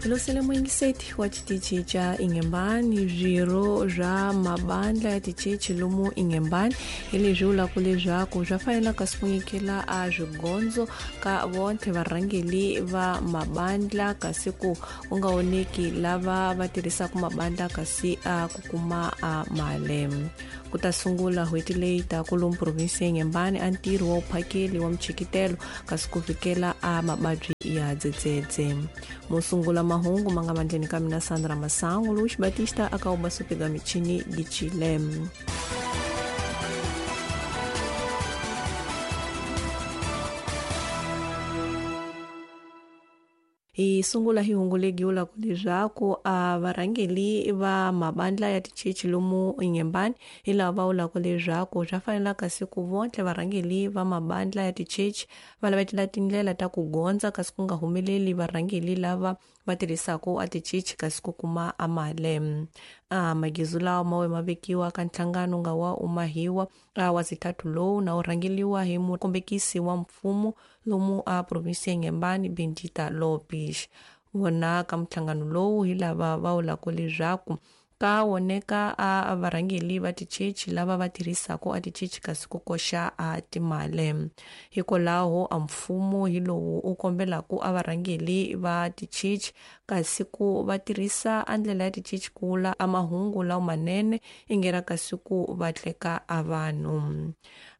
Hilosele muyingiseti wa xitichi xa Inhembane, swirho swa mabandla ya tichechi lomu Inhembane hi leswi vulaka leswaku swa fanela kasi ku nyikela a swigondzo ka vonthe varhangeli va mabandla kasi ku ku nga oneki lava va tirhisaka mabandla kasi a ku kuma a mali. Ku ta sungula n'hweti leyi taka lomu provinsi ya Inhembane a ntirho wa vuphakeli wa michikitelo kasi ku fikela a mavabyi ya dzedzedze. Musungula mahungu ma nga mandleni ka mina Sandra Masangu, Luis Batista aka ubasupiga michini Gichile. Hi sungula hi hungu legi vulaka leswaku a varhangeli va mabandla ya tichechi lomu Inhembane hi lava va vulaka leswaku swa fanela kasi ku vontle varhangeli va mabandla ya tichechi va lavetela tindlela ta ku gondza kasi ku nga humeleli varhangeli lava va tirhisaka a tichechi kasi ku kuma a mali. A magizu lawa ma we ma vekiwa ka nhlangano nga wa umahiwa a wa zitatu lowu na wu rhangeliwa hi mukombekisi wa mfumo lomu a provinsi ya Inhembane Bendita Lopes. Vona ka nhlangano lowu hi lava va vulaka leswaku ka woneka a varhangeli va tichechi lava va tirhisaka a tichechi kasi ku koxa a timali. Hikwalaho a mfumo hi lowu u kombelaka a varhangeli va tichechi kasi ku va tirhisa a ndlela ya tichechi ku vula a mahungu lawa manene ingera kasi ku va tleka a vanhu.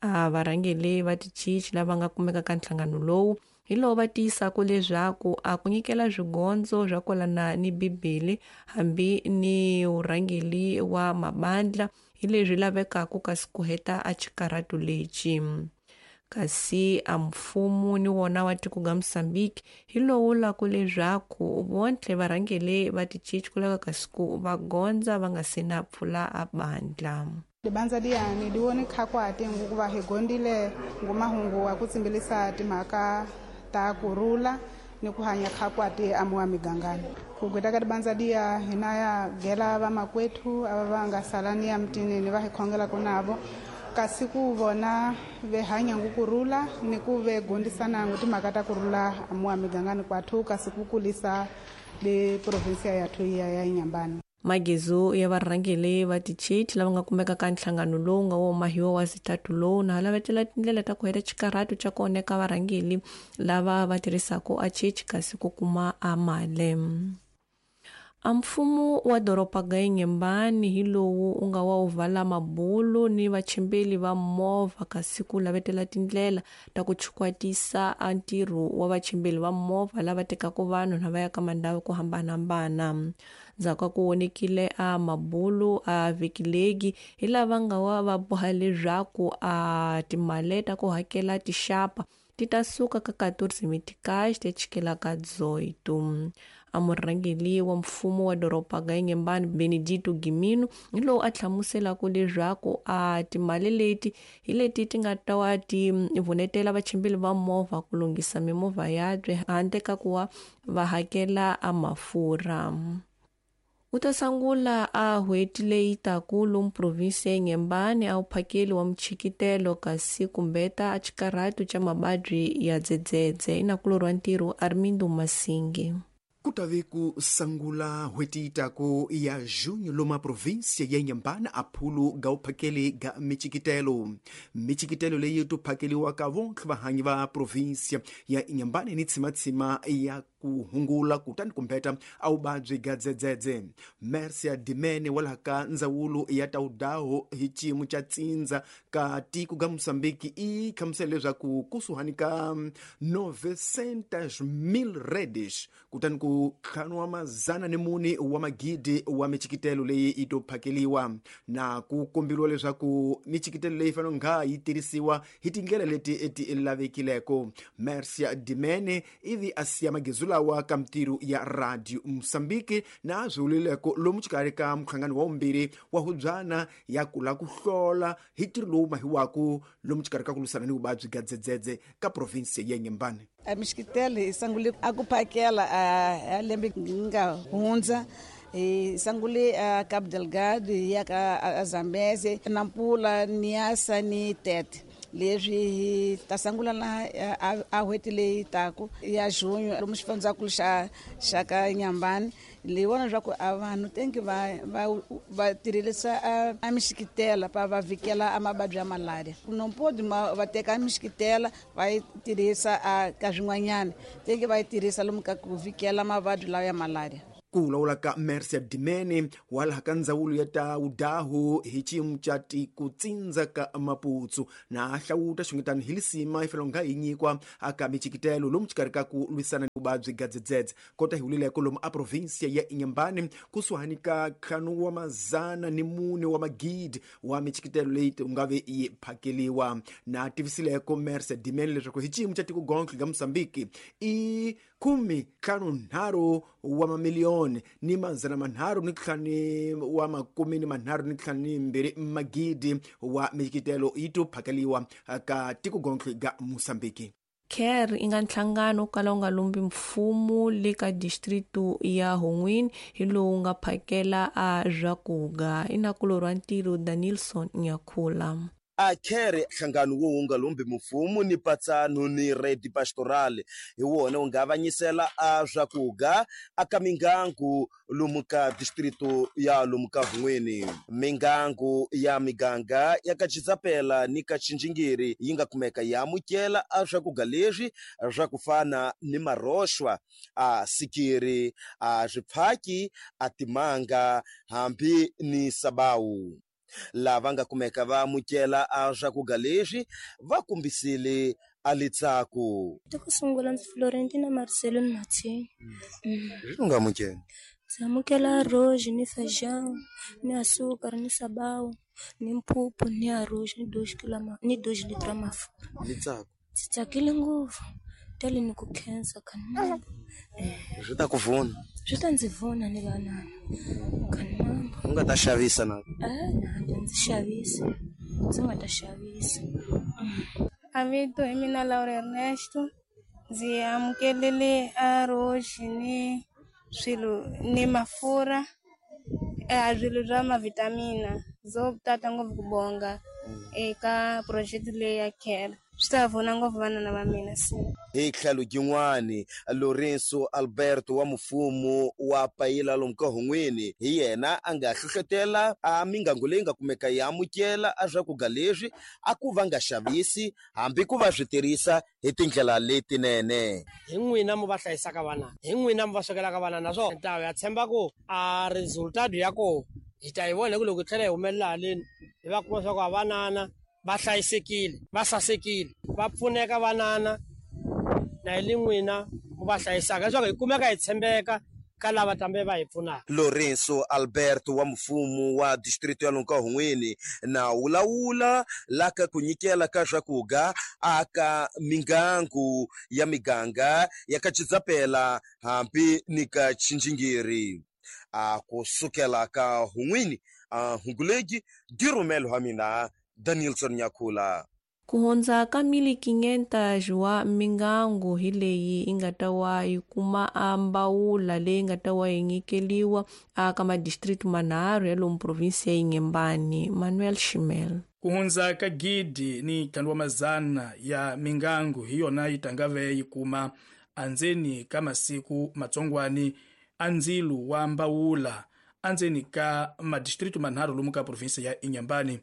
A varhangeli va tichechi lava nga kumeka ka nhlangano lowu hi lowu va tiyisaka leswaku a ku nyikela swigondzo swa kwalana ni Bibele hambi ni vurhangeli wa mabandla hi leswi lavekaka kasi ku heta a xikarhato lexi. Kasi a mfumo ni wona wa tiko ga Mozambique hi lowu vulaka leswaku vontle varhangeli va tichechi ku lava kasi ku va gondza va nga se na pfula a bandla. Libandza liyani liwone khakwati ngukuva hi gondile ngumahungu wa ku tsimbilisa timhaka ta kurhula ni ku hanya khakwati amuwa migangani. Ku gweta ka libandza liya hina ya gela vamakwethu ava va nga salani ya mutini ni va hi khongelaka navo kasi ku vona ve hanya ngukurhula ni ku ve gondisana ngu timhaka ta kurhula amuwa migangani kwathu kasi ku kulisa le provinsia yathu ya ya Inhambane. Magizu ya varhangeli va tichechi lava nga kumeka ka nhlangano lowu nga wo mahiwa wa zitatu lowu na lavetela tindlela ta ku heta xikarhato xa ku oneka varhangeli lava va tirhisaka a chechi kasi ku kuma a mali. A mfumo wa doroba ga Inhembane hi lowu u nga wa wu vala mabulu ni vachimbeli va movha kasi ku lavetela tindlela ta ku chukwatisa a ntirho wa vachimbeli va movha lava tekaka vanhu na va ya ka mandhawu ku hambanahambana. Ndzhaku ka ku vonekile a mabulu a vhikilegi hi lava nga wa va boha leswaku a timali ta ku hakela tixapa ti ta suka ka 14 meticais ti chikela ka 18. A murhangeli wa mfumo wa doroba ga Inhembane Benedito Gimino hi lowu a hlamuselaka leswaku a timali leti hi leti ti nga ta wa ti vunetela vachimbeli va movha ku lunghisa mimovha yabye handle ka ku va va hakela a mafurha. U ta sungula a n'hweti leyi taka lomu provinsi ya Inhembane a wuphakeli wa michikitelo kasi kumbeta a xikarhato xa mavabyi ya dzedzedze. Inakulorhi wa ntirho Armindo Masingi. Ku ta ve ku sungula n'hweti yi taku ya junho lomu provinsia ya Inhambane a phulu ga vuphakeli ga michikitelo. Michikitelo leyi to phakeliwaka vontlhe vahanyi va provinsia ya Inhambane ni tshimatshima ya ku hungula kutani kumbeta a vuvabyi ga dzedzedze. Mercia Dimene wa laha ka ndzawulo ya tawudaho hi xiyimo xa tsindza ka tiko ga Mozambique i hlamusela leswaku kusuhani ka 900,000 redes kutani ku ntlhanu wa mazana ni mune wa magidi wa michikitelo leyi yi to phakeliwa na ku komberiwa leswaku michikitelo leyi fanele nga yi tirhisiwa hi tindlela leti ti lavekileko. Mercia Dimene ivi a siya magizu lawa ka mitirho ya Radio Mozambique na swi vulileko lomu xikarhi ka muhlangano wa vumbirhi wa hubyana ya kula ku hlola hi ntirho lowu mahiwaku lomu xikarhi ka ku lwisana ni vuvabyi bya dzedzedze ka provinsi ya Inhambane. A michikitelo hi sungule a ku phakela a lembe nga hundza hi sungule a Cabo Delgado hi ya ka Zambeze, Nampula, Niassa ni Tete. Leswi hi ta sungula laha a n'hweti leyi taku ya junho lomu xifundzakulu xa ka Inhambane. Ni vona leswaku a vanhu tengi va tirhisa a mixikitela pa va vhikela a mavabyi ya malaria. Não pode va teka mixikitela va yi tirhisa ka swin'wanyana, tengi va yi tirhisa lomu ka ku vhikela mavabyi lawa ya malaria. Ku vulavula ka Mercia Dimene wa laha ka ndzawulo ya ta vudahu hi xiyimo xa tikutsindza ka Maputsu na hlawuta xungetani hi lisima yi fanele nga hi nyikwa aka michikitelo lomu xikarhi ka ku lwisana ni vuvabyi gadzedzedze kota hi wulileko lomu a provinsia ya Inhambane kusuhani ka 404 wa magidi wa michikitelo leyi nga ve yi phakeliwa. Na tivisileko Mercia Dimene leswaku hi xiyimo xa tiko gontlhe ga Mozambique i 53 wa mamiliyoni ni 352 magidi wa michikitelo yi to phakeliwa ka tiko gontlhe ga Mozambique. CARE i nga nhlangano wo kala wu nga lumbi mfumo le ka distritu ya Honwini hi lowu nga phakela a swakudya. I nakulorhi wa ntirho Danilson Nyakhula. A CARE nhlangano wo nga lumbi mfumo ni patsano ni Rede Pastoral hi wona wu nga avanyisela a swakudya aka mingangu lomu ka distrito ya lomu ka Vun'weni. Mingangu ya miganga ya ka Chitsapela ni ka Chinjingiri yi nga kumeka yi amukela a swakudya leswi swa ku fana ni maroxwa, a sikiri, a swiphaki, a timanga hambi ni sabawu. Lava nga kumeka va amukela a swakudya leswi va kombisile a litsako. Ku sungula ndzi Florentina Marcelo ni Martin. Leswi nga amukela? Ndzi amukela arroz ni feijão ni açúcar ni sabão ni mphuphu ni arroz ni 2 kg ni 2 litros mafurha. Litsako. Ndzi tsakile ngopfu. Tele ni ku khensa kanimambo. Swi ta ku vuna? Swi ta ndzi vuna ni vanana. Kanimambo. U nga ta xavisa na? Na ndzi xavisa. Ndzi nga ta xavisa. A vito hi mina Laura Ernesto. Ndzi amukelele arroz ni swilo ni mafurha, swilo swa mavitamina. Zo tata ngopfu ku bonga eka project leyi ya CARE. Swi ta pfuna ngopfu vanana va mina se. Hi tlhelo yin'wani, Lorenzo Alberto wa mfumo wa Payila lomu ka Hon'weni hi yena a nga hlohlotela a mingangu leyi nga kumeka yi amukela a swakudya leswi a ku va nga xavisi hambi ku va swi tirhisa hi tindlela letinene. Hi n'wina mu va hlayisaka vana, hi n'wina mu va swekelaka vana, naswona ta ya tshemba ku a resultado ya koho hi ta yi vona hi ku loko hi tlhela hi humelela haleni hi va kuma swa ku a vanana va hlayisekile, va sasekile, va pfuneka vanana na hi le n'wina mu va hlayisaka leswaku hi kumeka hi tshembeka ka lava tambe va hi pfunaka. Lorenzo Alberto wa mfumo wa distrito ya lomu ka Hon'weni na wulawula la ka ku nyikela ka swakudya aka mingangu ya miganga ya ka Chitsapela hambi ni ka Chinjingiri. A kusukela ka Hon'weni a Hungulegi dirumelo ha mina Danielson Nyakhula. Ku hundza ka 1,500 wa mingangu hi leyi yi nga ta wa yi kuma a mbawula leyi nga ta wa yi nyikeliwa aka madistrict manharhu ya lomu provinsi ya Inhambane. Manuel Shimel. Ku hundza ka 1,500 ya mingangu hi yona yi tangave yi kuma andzeni ka masiku matsongwani a ndzilu wa mbawula andzeni ka madistrict manharhu lomu ka provinsi ya Inhambane.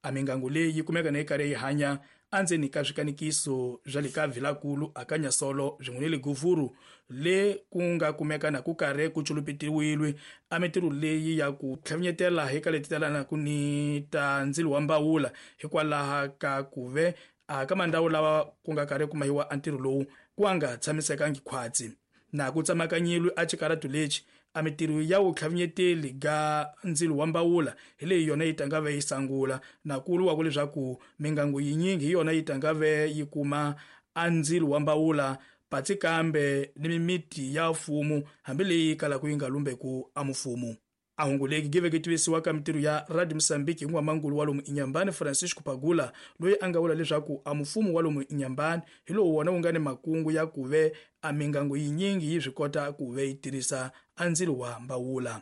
A mingangu leyi yi kumeka na yi karhi yi hanya andzeni ka swikanikiso swa le ka Vilakulu akanyasolo swin'we ni le Guvuru le ku nga kumeka na ku karhi ku culupetiwile a mintirho leyi ya ku tlhavinyetela hi ka leti talanaku ni ta ndzilo wa mbawula hikwalaha ka ku ve a ka mandhawu lawa ku nga karhi ku mahiwa a ntirho lowu ku nga tshamisekangi khwatsi na ku tsamakanyilwe a xikaratu lexi a mintirho ya vutlhavinyeteli ga ndzilo wa mbawula hi leyi yona yi tangave yi sangula na ku vuriwa leswaku mingangu yinyingi hi yona yi tangave yi kuma a ndzilo wa mbawula patsi kambe ni mimiti ya mfumo hambileyi kalaka yi nga lumbeku a mfumo. A hunguleki giveke tivisiwa ka mintirho ya Radio Mozambique hi n'wamangulu wa lomu Inhambane Francisco Pagula loyi a nga vula leswaku a mfumo wa lomu Inhambane hi lowu wona wu nga ni makungu ya ku ve a mingangu yinyingi yi swi kota ku ve yi tirhisa a ndzilo wa mbawula.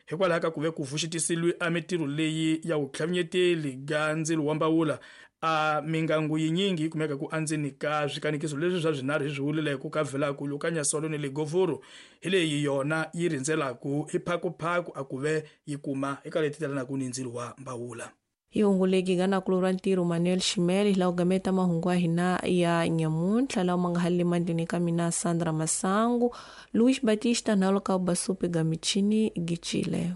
Hikwalaho ka ku ve ku vuxitisiwe a mintirho leyi ya vutlhavinyeteli ga ndzilo wa mbawula A mingangu yinyingi yi kumeka ku andzeni ka swikanikiso leswi swa swinharhu hi swi vulileko ka Velankulu, ka Nyasolo ni le Govuru, hi leyi yona yi rhindzelaku hi phakuphaku a ku ve yi kuma eka leti telanaka ni ndzilo wa mbawula. Hi hunguleki ga nakulu ra ntirho Manuel Ximele hi laha ku gameta mahungu ya hina ya nyamuntlha lawa ma nga halele mandleni ka mina Sandra Masangu, Luis Batista nalo ka basupe ga michini gicile.